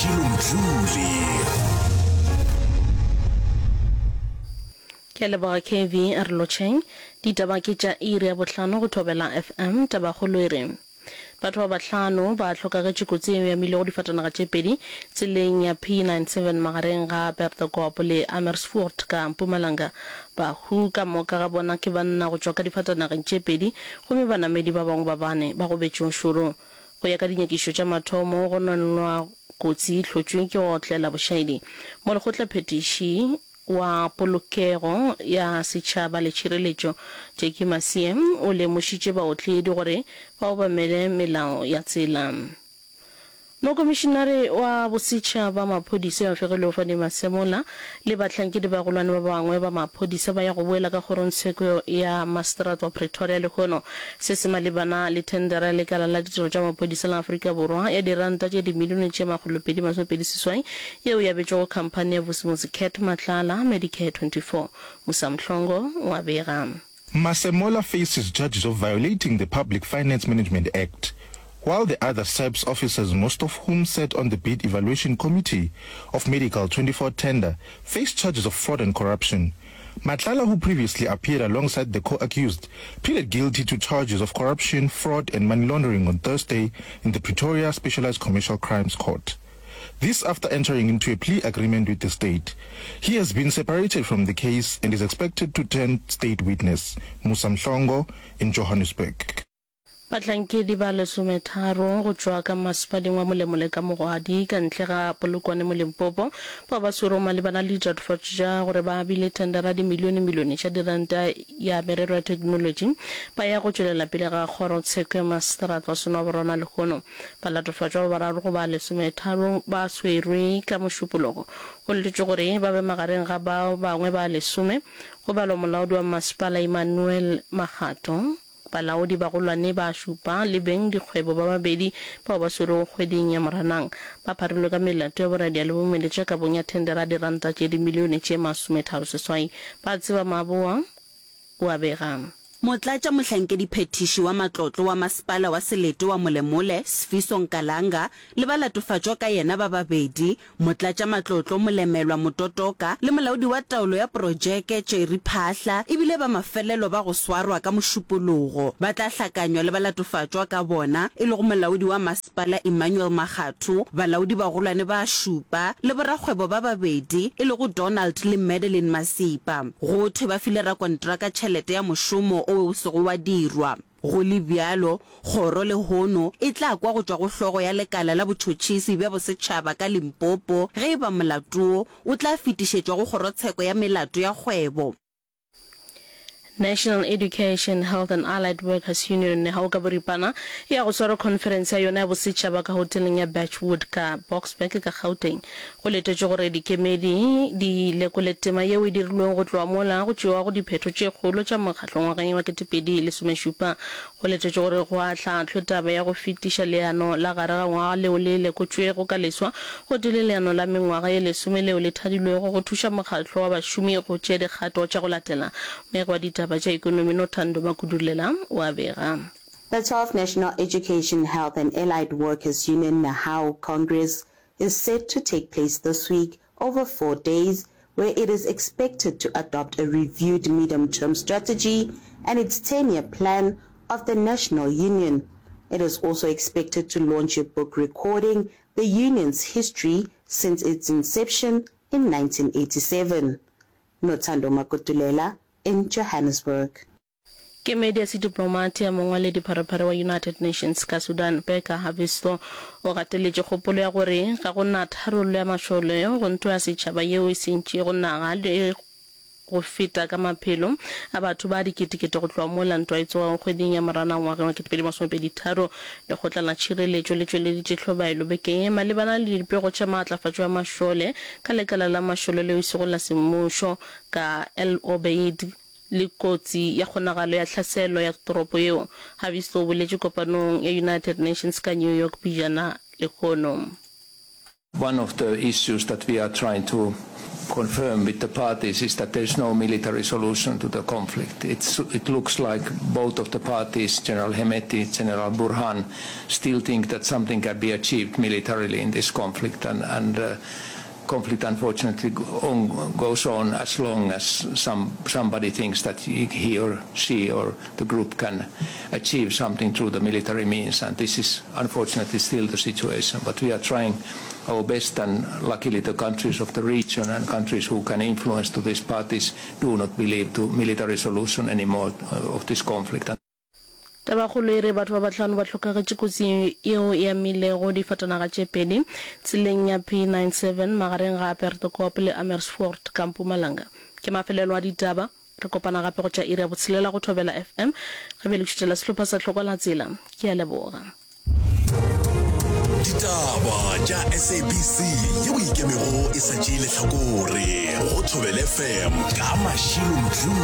Mashilo Mdluli. Ke a leboga KV, a re lotšheng. Ditaba ke tša iri ya bohlano go Thobela FM. Tabakgolo e re batho ba bahlano ba hlokagetše kotsing yeo e amilego difatanaga tše pedi tseleng ya P97 magareng ga Perdekop le Amersfoort ka Mpumalanga. Bahu ka moka ga bona ke banna go tšwa ka difatanageng tše pedi gomme banamedi ba bangwe ba bane ba gobetše o šoro. Go ya ka dinyakišišo tša mathomo, go nonwa kotsi e hlotšwe ke go otlela bošaedi. Molekgotlaphethiši wa Polokego ya Setšhaba le Tšhireletšo, Jackie Masie, o lemošitše baotledi gore ba obamele melao ya tsela. Mokomišinare wa Bosetšhaba Maphodisa yo fegilwego Fannie Masemola le bahlankedi bagolwane ba bangwe ba maphodisa ba ya go boela ka kgorongtsheko ya Maseterata wa Pretoria lehono. Se se malebana le thendera ya lekala la ditirelo tša maphodisa la Afrika Borwa ya diranta tše dimilione tše 228 yeo e abetšwego khamphani ya Vusimuzi Cat Matlala Medicare 24. Musa Mhlongo o a bega. Masemola faces charges of violating the Public Finance Management Act, while the other SAPS officers, most of whom sat on the bid evaluation committee of Medical 24 tender, face charges of fraud and corruption. Matlala, who previously appeared alongside the co-accused, pleaded guilty to charges of corruption, fraud and money laundering on Thursday in the Pretoria Specialized Commercial Crimes Court. This after entering into a plea agreement with the state. He has been separated from the case and is expected to turn state witness. Musa Mhlongo in Johannesburg. Bahlankedi ba lesometharo go tšwa ka masepaleng wa Molemole ka Mogwadi ka ntle ga Polokwane mo Limpopo bao ba swerwego malebana le ditatofatšo tša gore ba abile thendara ya dimilionemilione tša diranta ya merero ya theknolotši ba ya go tšwelela pele ga kgorotsheko ya maseterata wa Senwaborwana lehono. Balatofatšwa ba bararo go ba lesometharo ba swerwe ka Mošupologo. Go letetšwe gore ba be magareng ga ba bangwe ba lesome, go balwa molaodi wa masepala Emmanuel Makgato, balaodi bagolwane ba šupa le beng dikgwebo ba babedi bao ba swerwego kgweding ya Moranang. Ba pharilwe ka melato ya boradia le bomeletša kabong ya thendera ya diranta tše dimilione tše masometharo-seswai. Ba tseba Maboa o a bega. Motlatša-mohlankediphethiši wa matlotlo wa masepala wa selete wa Molemole, Sfiso Nkalanga, le balatofatšwa ka yena ba babedi, motlatša-matlotlo Molemelwa Mototoka le molaodi wa taolo ya projeke Jerry Phahla, e bile ba mafelelo ba go swarwa ka Mošupologo. Ba tla hlakanywa le balatofatšwa ka bona, e lego molaodi wa masepala Emmanuel Makgatho, balaodi bagolwane ba šupa le borakgwebo ba babedi, e lego Donald le Madeline Masipa. Go thwe ba file rakontraka tšhelete ya mošomo o o sego wa dirwa. Go le bjalo, kgoro lehono e tla kwa go tšwa go hlogo ya lekala la botšhotšhisi bja bosetšhaba ka Limpopo ge e ba molato wo o tla fetišetšwa go kgorotsheko ya melato ya kgwebo. National Education, Health and Allied Workers Union, NEHAWU ka boripana, e ya go swara khonferense ya yona ya bosetšhaba ka hoteleng ya Birchwood ka Boksburg ka Gauteng. Go letetšwe gore dikemedi di lekole tema yeo e dirilwego go tloga mola go tšewago diphetho tše kgolo tša mokgatlo ngwageng wa 2017. Go letetšwe gore go ahlaahlwe taba ya go fetiša leano la gare ga ngwaga leo le lekotšwego ka leswa gotee le leano la mengwaga ye lesome leo le thadilwego go thuša mokgatlo wa bašomi go tšea dikgato tša go latela. Mmegi wa ditaba tša ekonomi Nothando Makudulela o a bega. The 12th National Education, Health and Allied Workers Union, NEHAWU, Congress is set to take place this week over four days where it is expected to adopt a reviewed medium-term strategy and its 10-year plan of the national union. It is also expected to launch a book recording the union's history since its inception in 1987. Nothando Magudulela in Johannesburg. Kemedi ya sediplomate ya mongwaledipharephare wa United Nations ka Sudan, Pekka Haavisto, o gateletše kgopolo ya gore ga go na tharollo ya mašole go ntwa ya setšhaba yeo e sentšego naga le go feta ka maphelo a batho ba diketekete go tloga mola ntwa e tsogago kgweding ya Moranang ngwageng wa 2023. Lekgotla la Tšhireletšo le tšweleditše hlobaelo bekeng ye malebana le dipego tša maatlafatšo ya mašole ka lekala la mašole leo e sego la semmušo ka El Obeid le kotsi ya kgonagalo ya tlhaselo ya toropo yeo, Haavisto o boletše kopanong ya United Nations ka New York pejana lehono. One of the issues that we are trying to confirm with the parties is that there is no military solution to the conflict. It's, it looks like both of the parties, General Hemeti, General Burhan, still think that something can be achieved militarily in this conflict and, and uh, conflict unfortunately on, goes on as long as some, somebody thinks that he, he or she or the group can achieve something through the military means and this is unfortunately still the situation but we are trying our best and luckily the countries of the region and countries who can influence to these parties do not believe to military solution anymore uh, of this conflict. Tabakgolo e re batho ba bahlano ba hlokagetše kotsing yeo e amilego difatanaga tše pedi tseleng ya P97 magareng ga Perdekop le Amersfoort ka Mpumalanga. Ke mafelelo a ditaba. Re kopana gape go tša iri ya botshelela go Thobela FM. Ga bjale ke šutela sehlopha sa Hlokwa la Tsela. Ke a leboga. Ditaba tša SABC yeo e ikemego e sa tšee lehlakore go Thobela FM ka Mashilo Mdluli.